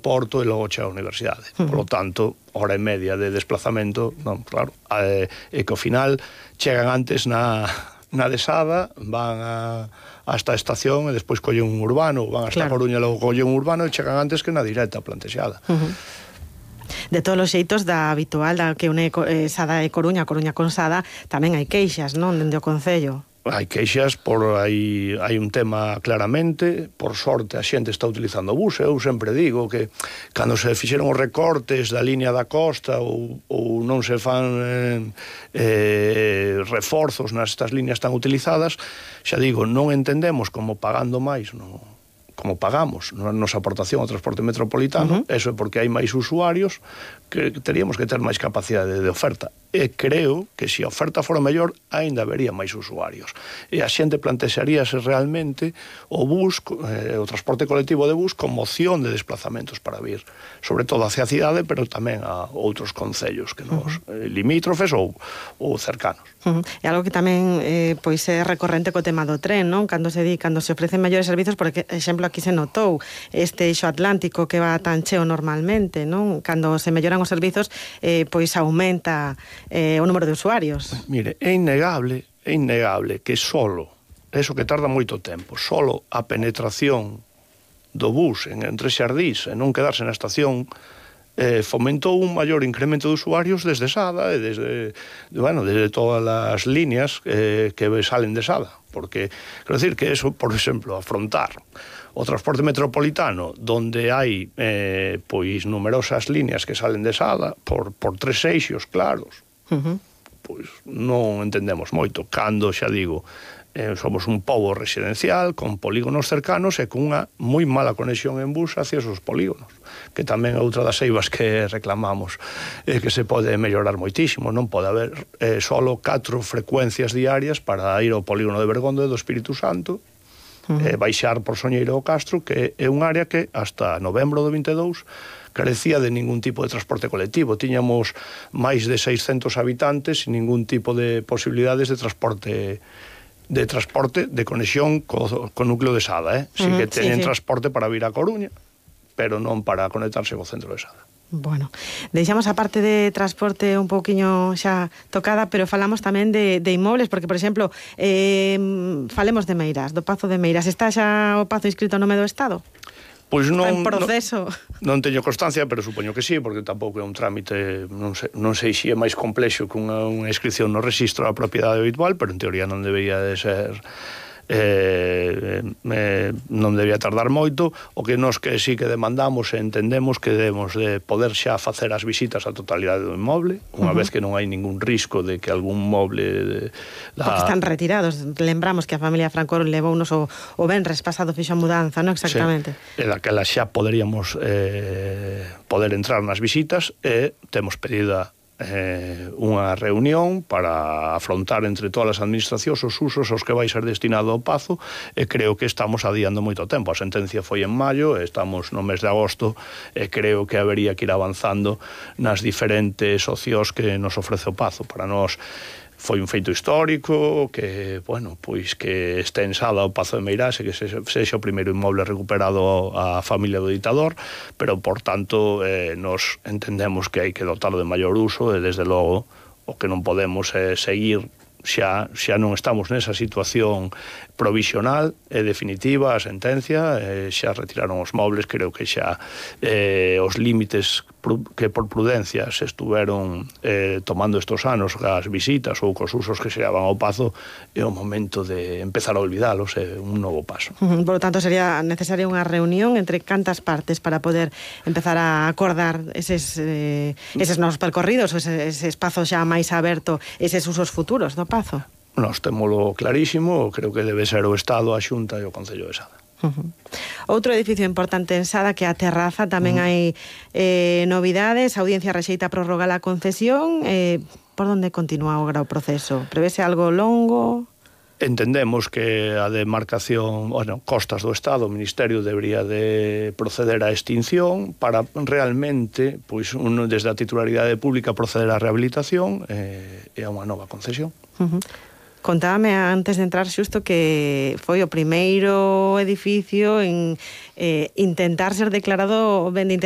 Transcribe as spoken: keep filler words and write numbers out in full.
aeroporto e logo chega a universidade. Uh -huh. Por lo tanto, hora e media de desplazamento, non, claro, e, e que ao final chegan antes na, na desada, van a, hasta a estación e despois collen un urbano, van hasta claro. Coruña e logo collen un urbano e chegan antes que na directa plantexada. Uh -huh. De todos os xeitos, da habitual, da que une eh, Sada e Coruña, Coruña con Sada, tamén hai queixas, non, dende o Concello? Hai queixas, por hai, hai un tema claramente, por sorte a xente está utilizando o bus, eu sempre digo que cando se fixeron os recortes da línea da costa ou, ou non se fan eh, eh, reforzos nestas líneas tan utilizadas, xa digo, non entendemos como pagando máis, no, como pagamos na nosa aportación ao transporte metropolitano, uh -huh. eso é porque hai máis usuarios que teríamos que ter máis capacidade de oferta. E creo que se a oferta fora mellor, aínda habería máis usuarios. E a xente plantexaríase realmente o bus, eh, o transporte colectivo de bus como opción de desplazamentos para vir, sobre todo hacia a cidade, pero tamén a outros concellos que nos uh -huh. eh, limítrofes ou, ou cercanos. Uh -huh. E algo que tamén eh, pois é recorrente co tema do tren, non? Cando se di, cando se ofrecen maiores servizos, por exemplo, aquí se notou este eixo atlántico que va tan cheo normalmente, non? Cando se melloran os servizos, eh, pois aumenta eh, o número de usuarios. Mire, é innegable, é innegable que solo, eso que tarda moito tempo, solo a penetración do bus en, entre Xardís e non quedarse na estación eh, fomentou un maior incremento de usuarios desde Sada e desde, bueno, desde todas as líneas eh, que salen de Sada, porque, quero decir que eso, por exemplo, afrontar o transporte metropolitano, donde hai eh, pois numerosas líneas que salen de Sada por, por tres eixos claros, uh -huh. pois non entendemos moito. Cando, xa digo, eh, somos un pobo residencial con polígonos cercanos e con unha moi mala conexión en bus hacia esos polígonos, que tamén é outra das eivas que reclamamos, eh, que se pode mellorar moitísimo. Non pode haber eh, solo catro frecuencias diarias para ir ao polígono de Bergondo e do Espírito Santo, Uh -huh. eh, baixar por Soñeiro ao Castro, que é un área que hasta novembro do vinte e dous carecía de ningún tipo de transporte colectivo. Tiñamos máis de seiscentos habitantes e ningún tipo de posibilidades de transporte de transporte de conexión co, co núcleo de Sada, eh? Uh -huh, sí que teñen sí, sí. transporte para vir a Coruña, pero non para conectarse co centro de Sada. Bueno, deixamos a parte de transporte un pouquiño xa tocada, pero falamos tamén de, de inmobles, porque, por exemplo, eh, falemos de Meirás, do Pazo de Meirás. Está xa o Pazo inscrito no nome do Estado? Pois non, en proceso. Non, non teño constancia, pero supoño que sí, porque tampouco é un trámite, non sei, non sei se é máis complexo que unha, unha inscripción no registro da propiedade habitual, pero en teoría non debería de ser... Eh, eh, non debía tardar moito. O que nos que sí que demandamos e entendemos que debemos de poder xa facer as visitas á totalidade do inmoble, unha uh -huh. vez que non hai ningún risco de que algún moble de, da... porque están retirados. Lembramos que a familia Franco levounos o, o venres pasado fixo a mudanza, non exactamente? Sí. E daquela xa poderíamos eh, poder entrar nas visitas e temos pedida Eh, unha reunión para afrontar entre todas as administracións os usos aos que vai ser destinado o Pazo, e creo que estamos adiando moito tempo. A sentencia foi en maio, estamos no mes de agosto, e creo que habería que ir avanzando nas diferentes opcións que nos ofrece o Pazo. Para nós foi un feito histórico, que, bueno, pois que este en Sada o Pazo de Meirás e que se, sexa o primeiro inmoble recuperado á familia do ditador, pero, por tanto, eh, nos entendemos que hai que dotarlo de maior uso e, desde logo, o que non podemos é eh, seguir xa, xa non estamos nesa situación provisional e definitiva, a sentencia, eh, xa retiraron os mobles, creo que xa eh, os límites que por prudencia se estuveron eh, tomando estos anos as visitas ou cos usos que se daban ao Pazo, é o momento de empezar a olvidalos, é un novo paso. Uh -huh. Por lo tanto, sería necesaria unha reunión entre cantas partes para poder empezar a acordar eses, eh, eses novos percorridos, ese, ese espazo xa máis aberto, eses usos futuros do Pazo? Nós témolo clarísimo, creo que debe ser o Estado, a Xunta e o Concello de Sada. Uh -huh. Outro edificio importante en Sada, que a Terraza, tamén uh -huh. hai eh, novidades. A Audiencia rexeita prorrogar a concesión. Eh, por onde continúa agora o proceso? Prevese algo longo? Entendemos que a demarcación, bueno, Costas do Estado, o Ministerio debería de proceder á extinción para realmente, pois, uno, desde a titularidade pública, proceder á rehabilitación eh, e a unha nova concesión. Uh -huh. Contábame antes de entrar xusto que foi o primeiro edificio en eh, intentar ser declarado ben de interés